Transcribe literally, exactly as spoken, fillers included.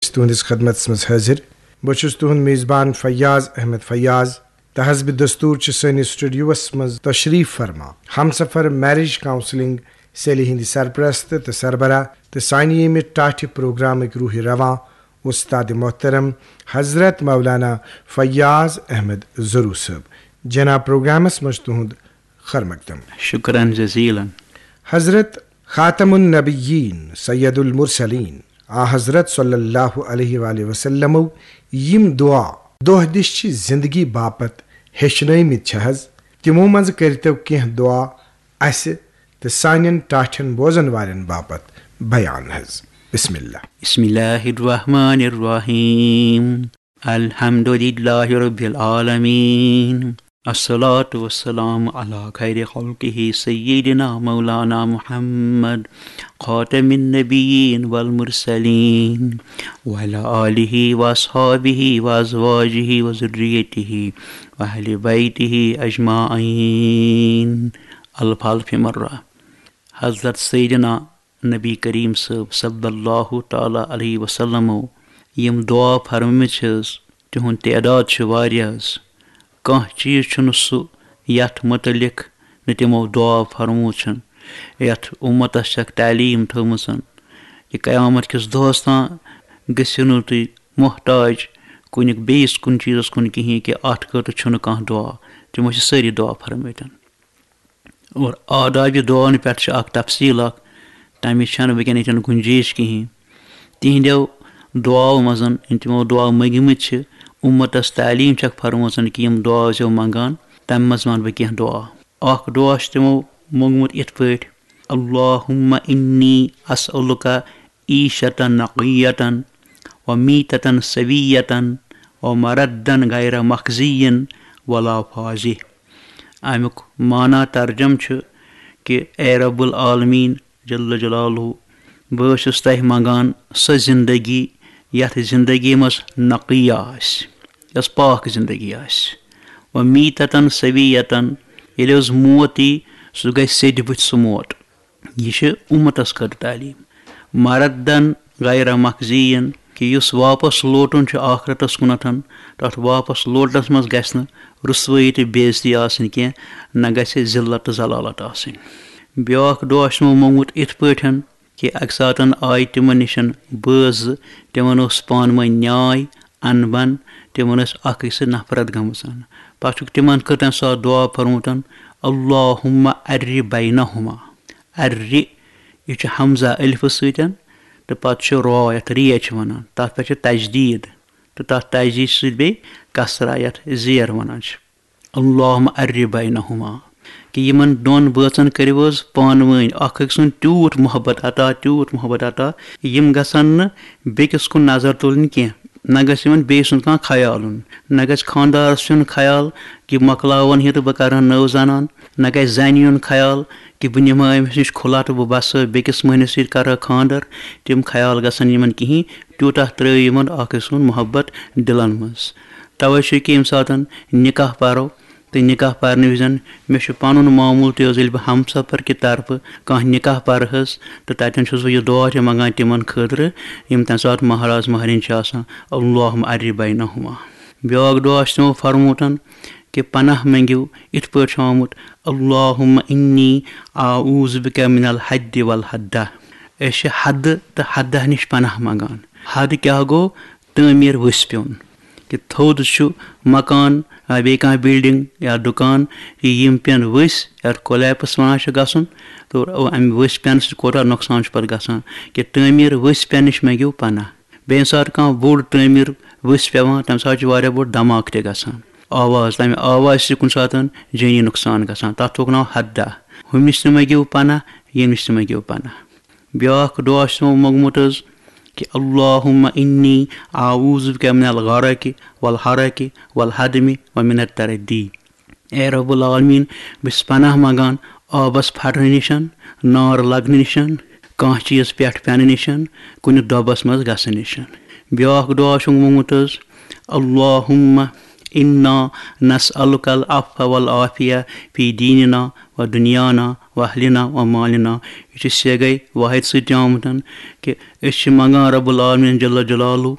أسۍ تُہنٛدِس خدمتس منٛز حٲضِر۔ بہٕ چھُس تُہنٛد میزبان فیاض احمد فیاض۔ تہٕ حسب دستور چھِ سٲنِس سٹوڈیوس منٛز تشریف فرما ہمسفر میریج کاؤنسلنگ سیلہِ ہٕنٛدۍ سرپرست تہٕ سربراہ تہٕ سانہِ ییٚمہِ ٹاٹھہِ پروگرامٕکۍ روحِ رواں استاد محترم حضرت مولانا فیاض احمد ضروٗ صٲب۔ جناب، پروگرامس منٛز تُہنٛد خیر مقدم۔ شکرن جزیلا۔ حضرت خاتم النبیین سید المرسلین آ حضرت صلی اللہ علیہ وآلہ وسلمو یِم دعا دۄہ دِش چہِ زندگی باپتھ ہیٚچھنٲومٕتۍ چھِ حض، تِمو منٛزٕ کٔرۍتو کینٛہہ دعا اسہِ تہٕ سانٮ۪ن ٹاٹھٮ۪ن بوزن والٮ۪ن باپتھ بیان حض۔ بسم اللہ۔ بسم اللہ الرحمن الرحیم۔ الحمد لله رب العالمين، الصلاة والسلام على خير خلقه سيدنا مولانا محمد خاتم النبيين والمرسلين، وعلى آله وأصحابه وأزواجه وذريته وأهل بيته أجمعين۔ الف الف مرة۔ حضرت سیدنا نبی کریم صٲب صلی اللہ تعالیٰ علیہ وسلمو یِم دعا فرمٲومٕتۍ چھِ حض، تِہُنٛد تعداد چھُ واریاہ حض۔ کانٛہہ چیٖز چھُنہٕ سُہ یَتھ مُتعلِق نہٕ تِمو دعا فرمومُت چھُنہٕ، یَتھ اُمتَس چھَکھ تعلیٖم تھٲومٕژ کہِ قیامت کِس دۄہَس تام گٔژھِو نہٕ تُہۍ محتاج کُنہِ بیٚیِس کُنہِ چیٖزَس کُن کِہیٖنۍ، کہِ اَتھ خٲطرٕ چھُنہٕ کانٛہہ دعا۔ تِمو چھِ سٲری دعا فرمٲومٕتۍ۔ اور آدابِ دعاہن پٮ۪ٹھ چھِ اکھ تفصیٖل اکھ، تَمِچ چھَنہٕ وٕنکیٚن ییٚتٮ۪ن گُنجٲیِش کِہیٖنۍ۔ تِہنٛدیو دعاو منٛز یِم تِمو دعا مٔنگمٕتۍ چھِ، اُمتس تعلیٖم چھکھ فرمٲژن کہِ یِم دعا ٲسۍزیو منٛگان، تَمہِ منٛز وَنہٕ بہٕ کینٛہہ دعا۔ اکھ دعا چھُ تِمو موٚنگمُت یِتھ پٲٹھۍ، اللہم انی اسألک عیشة نقیة و میتة سویة و مردا غیر مخزی ولا فاضح۔ اَمیُک معنی ترجمہٕ چھُ کہِ اے رب العالمین جل جلالہ، بہٕ حظ چھُس تۄہہِ منٛگان سۄ زندگی یَتھ زندگی منٛز نقیہ آسہِ، یۄس پاک زندگی آسہِ، و میتة سویة، ییٚلہِ حظ موت یی، سُہ گژھِ سیٚدِ بُتھِ سُہ موت۔ یہِ چھِ اُمتس خٲطرٕ تعلیٖم۔ مردن غیر مخزین، کہِ یُس واپس لوٹُن چھُ آخرتس کُنتھ، تتھ واپس لوٹنس منٛز گژھِ نہٕ رسوٲیی تہٕ بے عزتی آسٕنۍ کینٛہہ، نہ گژھِ ذلت تہٕ ذلالت آسٕنۍ۔ بیٛاکھ دعا چھُ تِمو موٚنگمُت یِتھ پٲٹھۍ کہِ اکہِ ساتن آیہِ تِمن نِش بٲژ زٕ، تِمن اوس پانہٕ ؤنۍ نیاے، انبن، تِمن ٲس اکھ أکِس سۭتۍ نفرت گٔمٕژ۔ پتہٕ چھُکھ تِمن کٔر تمہِ ساتہٕ دعا فرمومُت، اللہم ارِ بینہما۔ ارِ، یہِ چھُ حمزہ الفہٕ سۭتۍ تہٕ پتہٕ چھُ را، یتھ ریش چھِ ونان، تتھ پٮ۪ٹھ چھِ تجدید تہٕ تتھ تجدید سۭتۍ بیٚیہِ کسرہ، یتھ زیر ونان چھِ۔ اللہم ارِ بینہما، کہِ یِمن دۄن بٲژن کٔرِو حظ پانہٕ ؤنۍ اکھ أکۍ سُنٛد تیوٗت محبت عطا، تیوٗت محبت عطا، یِم گژھن نہٕ بیٚکِس کُن نظر تُلٕنۍ کینٛہہ، نہ گژھِ یِمن بیٚیہِ سُنٛد کانٛہہ خیال یُن، نہ گژھِ خانٛدارس یُن خیال کہِ مۄکلاون یہِ تہٕ بہٕ کرٕ ہا نٔو زنان، نہ گژھِ زنہِ یُن خیال کہِ بہٕ نِمہٕ ہا أمِس نِش کھُلہ تہٕ بہٕ بسہٕ ہا بیٚکِس مٔہنِوِس سۭتۍ کرٕ ہا خانٛدر۔ تِم خیال گژھن یِمن کِہیٖنۍ، تیوٗتاہ ترٲیِو یِمن اکھ أکۍ سُنٛد محبت دِلن منٛز۔ توے چھُ کہِ ییٚمہِ ساتن نکاح پرو تہٕ نکاح پرنہٕ وِزن مےٚ چھُ پنُن معموٗل تہِ حظ، ییٚلہِ بہٕ ہمسفر کہِ طرفہٕ کانٛہہ نکاح پرٕ حظ، تہٕ تتٮ۪ن چھُس بہٕ یہِ دعا تہِ منٛگان تِمن خٲطرٕ، یِم تمہِ ساتہٕ مہراز مہرِنۍ چھِ آسان، اللہم ارِ بینہما۔ بیٛاکھ دعا چھُ تِمو فرمومُت کہِ پناہ مٔنگِو، یِتھ پٲٹھۍ چھُ آمُت، اللہم انی اعوذ بک من الحد والحدہ۔ أسۍ چھِ حدٕ تہٕ حدہ نِش پناہ منٛگان۔ حد کیٛاہ گوٚو؟ تعمیٖر ؤسۍ پیوٚن۔ کہِ تھوٚد چھُ مکان، آ، بیٚیہِ کانٛہہ بلڈنگ یا دُکان، یہِ یِم پیٚن ؤسۍ، یَتھ کولیپس وَنان چھِ گژھُن، تہٕ اَمہِ ؤسۍ پیٚنہٕ سۭتۍ کوٗتاہ نۄقصان چھُ پَتہٕ گژھان، کہِ تعمیٖر ؤسۍ پیٚنہٕ نِش مٔنٛگِو پناہ۔ بیٚیہِ ییٚمہِ ساتہٕ کانٛہہ بوٚڑ تعمیٖر ؤسۍ پیٚوان، تَمہِ ساتہٕ چھُ واریاہ بوٚڑ دھماکہٕ تہِ گژھان۔ آواز، تَمہِ آوازِ سۭتۍ کُنہِ ساتہٕ جٲنی نۄقصان گژھان، تَتھ تھوٚوُکھ ناو حدہ۔ ہُمِس تہِ مٔنٛگِو پناہ، ییٚمِس تہِ مٔنٛگِو پناہ۔ بیٛاکھ دعا چھُ تِمو موٚنٛگمُت حظ کہِ اللہم انی اعوذ بک من الغرق والحرق والہدم ومن التردی۔ اے رب العالمین، بہٕ چھُس پناہ منٛگان آبس پھٹنہٕ نِش، نار لگنہٕ نِش، کانٛہہ چیٖز پٮ۪ٹھ پٮ۪نہٕ نِش، کُنہِ دۄبس منٛز گژھنہٕ نِش۔ بیٛاکھ دعا چھُم موٚنٛگمُت حظ، اللہم انا نسألک العفو والعافیہ فی دیننا و دنیانا و اہلنا و مالنا۔ یہِ چھُ سیگے واحد سۭتۍ آمُت کہِ أسۍ چھِ منگان رب العالمین جل جلالہ